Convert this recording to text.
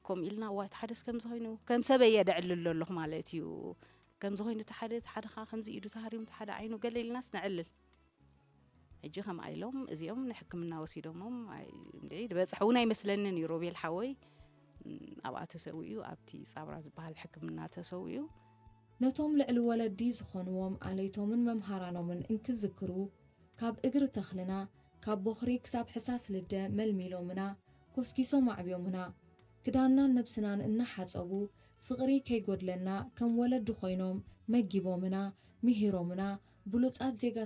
ከምኡ ኢልና፣ "እዋ፣ እቲ ሓደስ ከምዚ ኮይኑ፣ ከም ሰበይ እየ ደዕልሎ ኣለኹ ማለት እዩ። ከምዚ ኮይኑ፣ እቲ ሓደ፣ እቲ ሓደ ኸዓ ከምዚ ኢዱ ተሃሪሙ፣ እቲ ሓደ ዓይኑ ገለ" ኢልናስ ነዕልል። ሕጂ ከምኣ ኢሎም እዚኦም ንሕክምና ወሲዶሞም፣ ኣይ፣ እንድዒ ዝበጽሐ እውን ኣይመስለንን እዩ። ሮቤል ሓወይ፣ እም፣ ኣብኣ ተሰዊኡ፣ ኣብቲ ጻብራ ዝበሃል ሕክምና ተሰዊኡ። ነቶም ልዕሊ ወለዲ ዝኾንዎም ኣለይቶምን መምሃራኖምን እንክዝክሩ፣ ካብ እግሪ ተኽልና፣ ካብ ቦኽሪ ክሳብ ሕሳስ ልደ መልሚሎምና፣ ኮስኪሶም ኣዕብዮምና። ክዳንናን ነብስናን እናሓጸቡ፣ ፍቕሪ ከይጎድለና ከም ወለዲ ኮይኖም መጊቦምና፣ ምሂሮምና፣ ብሉጻት ዜጋ